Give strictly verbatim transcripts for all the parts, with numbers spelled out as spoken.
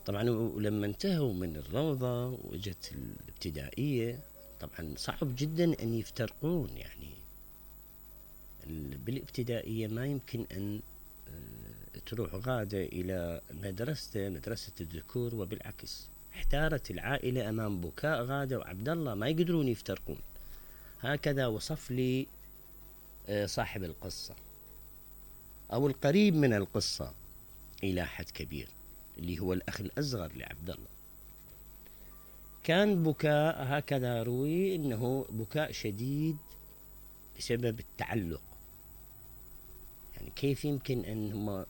طبعا ولما انتهوا من الروضة واجت الابتدائية طبعا صعب جدا ان يفترقون. يعني بالابتدائية ما يمكن ان تروح غادة الى مدرسته مدرسة الذكور وبالعكس. احتارت العائلة امام بكاء غادة وعبد الله، ما يقدرون يفترقون. هكذا وصف لي صاحب القصة او القريب من القصة الى حد كبير، اللي هو الاخ الاصغر لعبد الله. كان بكاء هكذا روي انه بكاء شديد بسبب التعلق. يعني كيف يمكن ان هم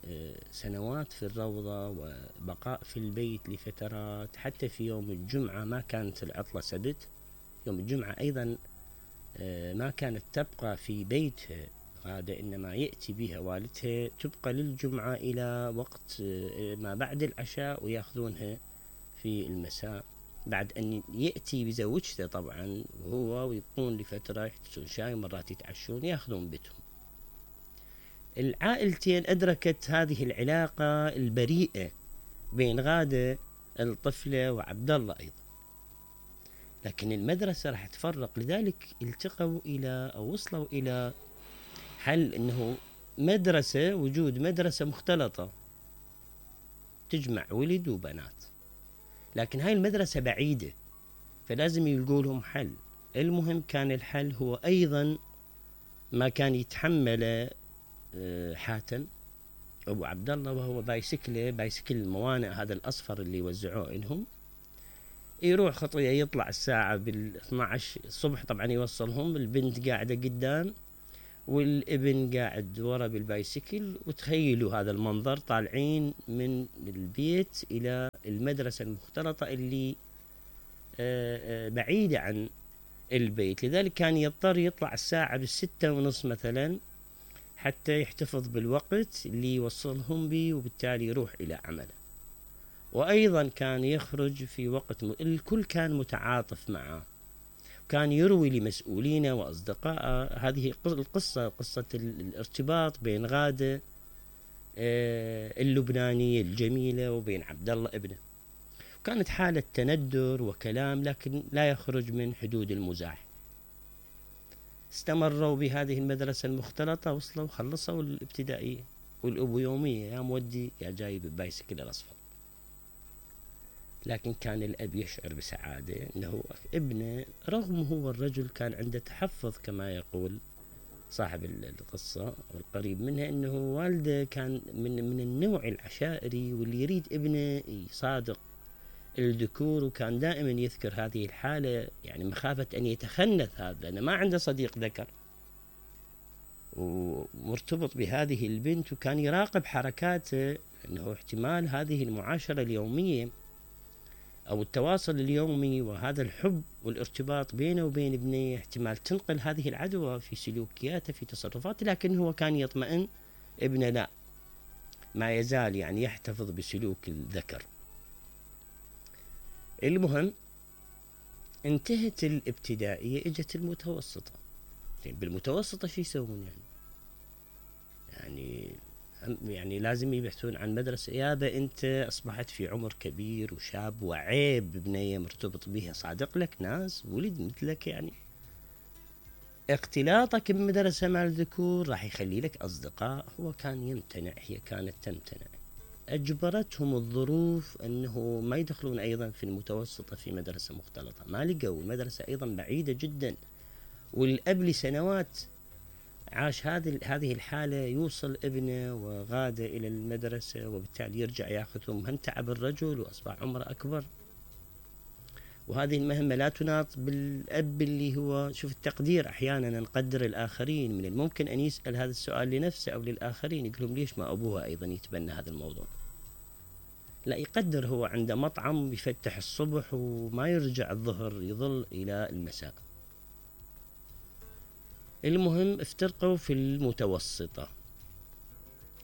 سنوات في الروضة وبقاء في البيت لفترات، حتى في يوم الجمعة ما كانت العطلة سبت، يوم الجمعة ايضا ما كانت تبقى في بيتها غادة، انما يأتي بها والدها تبقى للجمعة الى وقت ما بعد العشاء وياخذونها في المساء، بعد ان يأتي بزوجته طبعا وهو ويبقون لفترة يحتسون شاي، مرات يتعشون ياخذون بيتهم. العائلتين أدركت هذه العلاقة البريئة بين غادة الطفلة وعبد الله أيضا، لكن المدرسة راح تفرق. لذلك التقوا إلى أو وصلوا إلى حل أنه مدرسة وجود مدرسة مختلطة تجمع ولد وبنات، لكن هاي المدرسة بعيدة فلازم يلقوا لهم حل. المهم كان الحل هو أيضا ما كان يتحمله حاتم أبو عبد الله، وهو بايسكله بايسكل الموانئ هذا الأصفر اللي يوزعوه لهم، يروح خطوة يطلع الساعة بالاثنى عشر الصبح طبعا يوصلهم، البنت قاعدة قدام والابن قاعد ورا بالبايسكل. وتخيلوا هذا المنظر، طالعين من البيت إلى المدرسة المختلطة اللي بعيدة عن البيت، لذلك كان يضطر يطلع الساعة بالستة ونص مثلا حتى يحتفظ بالوقت اللي يوصلهم به، وبالتالي يروح إلى عمله. وأيضا كان يخرج في وقت م... الكل كان متعاطف معه، كان يروي لمسؤولينه وأصدقائه هذه القصة، قصة الارتباط بين غادة اللبنانية الجميلة وبين عبد الله ابنه. كانت حالة تندر وكلام لكن لا يخرج من حدود المزاح. استمروا بهذه المدرسة المختلطة، وصلوا خلصوا الابتدائية، والأبو يومية يا مودي يا جايب البايسكل الأصفر. لكن كان الأب يشعر بسعادة أنه ابنه رغم هو الرجل كان عنده تحفظ كما يقول صاحب القصة والقريب منها، أنه والده كان من, من النوع العشائري واللي يريد ابنه يصادق الذكور، وكان دائما يذكر هذه الحالة يعني مخافة أن يتخنث هذا لأنه ما عنده صديق ذكر ومرتبط بهذه البنت، وكان يراقب حركاته أنه احتمال هذه المعاشرة اليومية أو التواصل اليومي وهذا الحب والارتباط بينه وبين ابنه احتمال تنقل هذه العدوى في سلوكياته في تصرفاته. لكن هو كان يطمئن ابنه لا، ما يزال يعني يحتفظ بسلوك الذكر. المهم انتهت الابتدائية، اجت المتوسطة. بالمتوسطة شو يسوون يعني؟ يعني يعني لازم يبحثون عن مدرسة. يابا انت اصبحت في عمر كبير وشاب وعيب بنية مرتبط بها، صادق لك ناس ولد مثلك، يعني اختلاطك بمدرسة مع الذكور راح يخلي لك اصدقاء. هو كان يمتنع، هي كانت تمتنع، اجبرتهم الظروف انه ما يدخلون ايضا في المتوسطة في مدرسة مختلطة. ما لقوا، المدرسة ايضا بعيدة جدا، والاب لسنوات عاش هذه هذه الحالة، يوصل ابنه وغادة إلى المدرسة وبالتالي يرجع ياخذهم، هم تعب الرجل وأصبح عمره أكبر، وهذه المهمة لا تناط بالأب اللي هو شوف التقدير. أحيانا نقدر الآخرين، من الممكن أن يسأل هذا السؤال لنفسه أو للآخرين، يقولون ليش ما أبوها أيضا يتبنى هذا الموضوع؟ لا، يقدر هو عنده مطعم يفتح الصبح وما يرجع الظهر، يظل إلى المساء. المهم افترقوا في المتوسطة،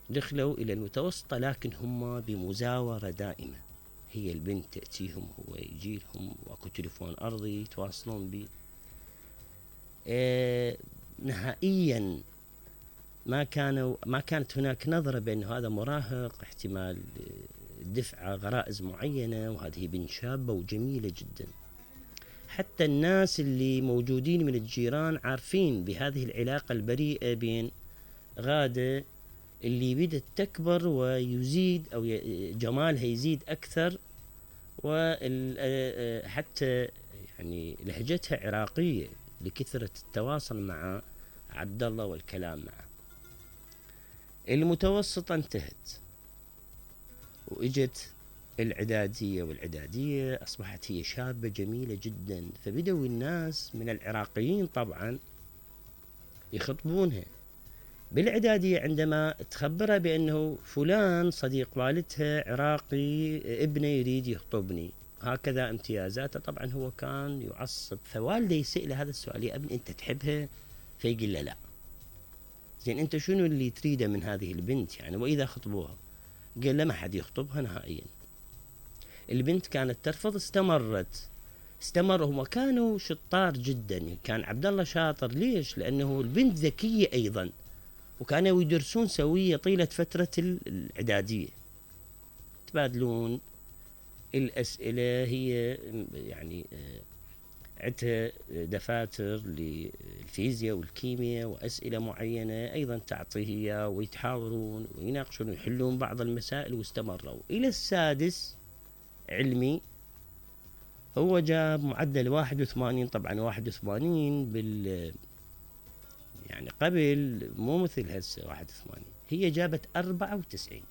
دخلوا إلى المتوسطة لكن هم بمزاورة دائمة. هي البنت تأتيهم، هو يجيلهم، واكو تليفون أرضي يتواصلون به. اه نهائيا ما كانوا ما كانت هناك نظرة بأن هذا مراهق احتمال دفعة غرائز معينة، وهذه بنت شابة وجميلة جدا. حتى الناس اللي موجودين من الجيران عارفين بهذه العلاقة البريئة بين غادة اللي بدت تكبر ويزيد أو جمالها يزيد أكثر، وحتى يعني لهجتها عراقية لكثرة التواصل مع عبد الله والكلام معه. المتوسطة انتهت وإجت العدادية، والعدادية أصبحت هي شابة جميلة جدا، فبدأوا الناس من العراقيين طبعا يخطبونها. بالعدادية عندما تخبرها بأنه فلان صديق والدها عراقي ابنه يريد يخطبني، هكذا امتيازاته، طبعا هو كان يعصب. فوالده يسأل هذا السؤال: يا ابن أنت تحبها؟ فيقول له لا. زين أنت شنو اللي تريده من هذه البنت يعني وإذا خطبوها؟ قال له ما حد يخطبها نهائيا. البنت كانت ترفض، استمرت استمر هم كانوا شطار جدا. كان عبد الله شاطر، ليش؟ لأنه البنت ذكية أيضا، وكانوا يدرسون سوية طيلة فترة الإعدادية، تبادلون الأسئلة. هي يعني عندها دفاتر للفيزياء والكيمياء وأسئلة معينة أيضا تعطيه إياه، ويتحاورون ويناقشون ويحلون بعض المسائل. واستمروا إلى السادس علمي، هو جاب معدل واحد وثمانين. طبعا واحد وثمانين بال يعني قبل مو مثل هسه واحد وثمانين، هي جابت أربعة وتسعين.